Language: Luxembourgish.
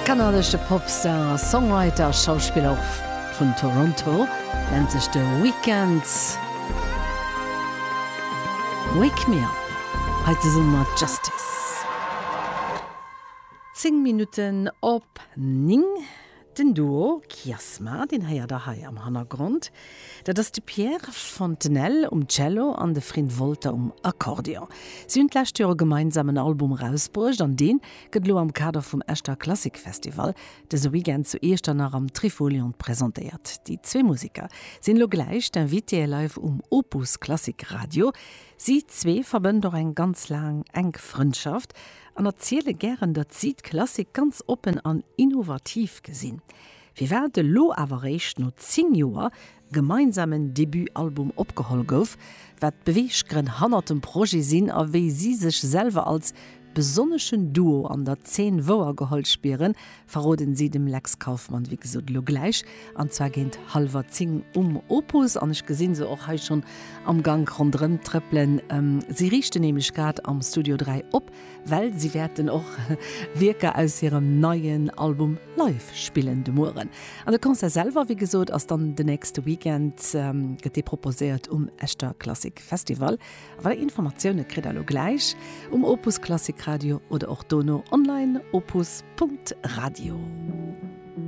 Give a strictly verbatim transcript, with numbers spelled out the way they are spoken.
Kanadesche Popstar, Songwriter a Schauspiller vun Toronto nennt sech The Weeknd. Wake Me Up hei zesumme mat Justice. Zéng Minutten op néng. Den Duo Kiasma, deen héiert der hei am Hannergrond, dat ass de Pierre Fontenelle um Cello an de Frin Wolter um Akkordeon. Si hunn d'lescht Joer e gemeinsamen Album erausbruecht an dee gëtt elo am Kader vum Echter Klassikfestival dëse Weekend zu Iechternach am Trifolion presentéiert. Déi zwee Museker sinn elo gläich d'Invitéë live um Opus Klassik Radio. Si zwee verbënnt och eng ganz laang enk Frëndschaft an erziele gären, datt si d'Klassik ganz oppen an innovativ gesinn. Firwat elo awer réischt no zéng Joer e gemeinsamen Debut-Album opgeholl gouf, wat d'Beweeggrënn hannert dem Projet sinn a wéi si sech selwer als besonneschen Duo an der Zeen wouergeholl spieren, verroden si dem Lex Kauffmann wéi gesot elo gläich, an zwar géint hallwer zéng um Opus. An ech gesinn se och hei schonn am Gank ronderëm trëppelen. Si riichten nämlech grad am Studio dräi op, well si wäerten och Wierker aus hirem neien Album live spillen de Mueren. An de Concert selwer, wéi gesot, ass dann den nächste Weekend, gëtt dee proposéiert um Echter Klassik Festival. A weider Informatioune kritt der elo gläich um Opus Klassik Radio oder och dono online opus Punkt Radio.